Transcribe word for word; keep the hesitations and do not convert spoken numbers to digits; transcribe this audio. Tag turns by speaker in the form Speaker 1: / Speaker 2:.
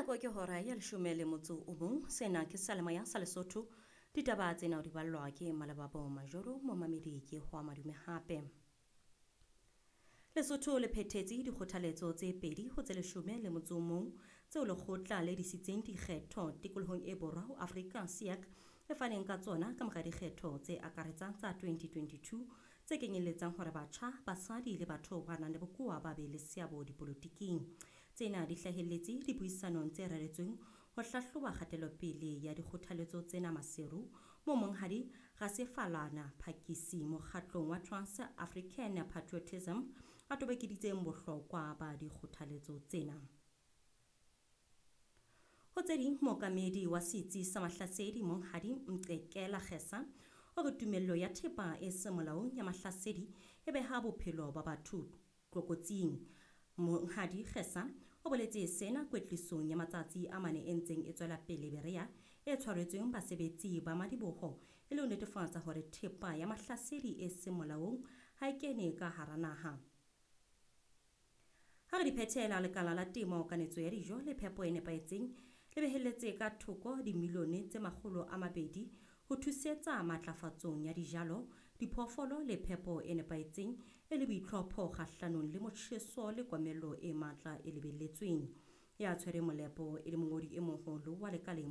Speaker 1: Nako ke hora ya leshome le motso o mong. Sena ke Seyalemoya sa Lesotho. Ditaba tsena o di ballwa ke Malebabo Majoro, momamedi ke ho madume hape. Lesotho le phethetse dikgothaletso tse pedi ho tse leshome le motso o mong tseo lekgotla le disitseng dikgetho tikolohong e borwa ho Afrika S E A C e faneng ka tsona ka mora dikgetho tse akaretsang tsa twenty twenty-two tse kenyelletsang hore batjha, basadi le batho ba nang le bokowa ba be le seabo dipolotiking. Tsena di hlahelletse dipuisanong tse reretsweng ho hlahloba kgatelopele ya dikgothaletso tsena Maseru, moo Monghadi Rasefalana Phakisi mokgatlong wa Trans African Patriotism a tobokeditseng bohlokwa ba dikgothaletso tsena. Ho tse ding, mookamedi wa setsi sa Mahlasedi Monghadi Mqekela Kgesa o re tumello ya thepa e seng molaong ya mahlasedi e beha bophelo ba batho tlokotsing. Monghadi Kgesa o boletse sena kwetlisong ya matsatsi a mane e ntseng e tswela pele Berea e tshwaretsweng basebetsi ba madiboho e le ho netefatsa hore thepa ya mahlasedi e seng molaong ha e kene ka hara naha. Ha re di phethela, lekala la temo, kanetso ya dijo le phepo e nepahetseng le behelletse ka thoko dimilione tse makgolo a mabedi ho thusetsa matlafatsong ya dijalo, diphoofolo le phepo e nepahetseng e le boitlhopho kgahlanong le motjheso le komello e matla e lebelletsweng. Ya tshwereng molepo e le mongodi e moholo wa lekaleng.